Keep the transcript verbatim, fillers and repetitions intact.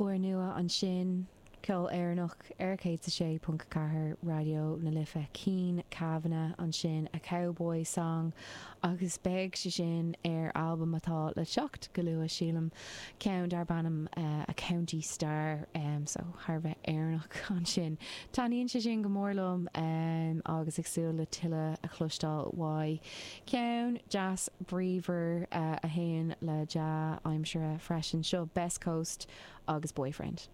Úrnua ansin, ceol Éireannach ar céad a sé ponc ceathair Raidió na Life Cian Kavanagh ansin a Cowboy Song agus beidh sé sin ar albam atá le teacht go luath sílim ceann darb ainm uh, a County Star um, so thar bheith Éireannach ansin. Taitníonn sé sin go mór liom um, agus ag súil le tuilleadh a chloisteáil uaidh. Ceann deas bríomhar uh, a théann le dea-aimsire freisin seo Best Coast agus Boyfriend.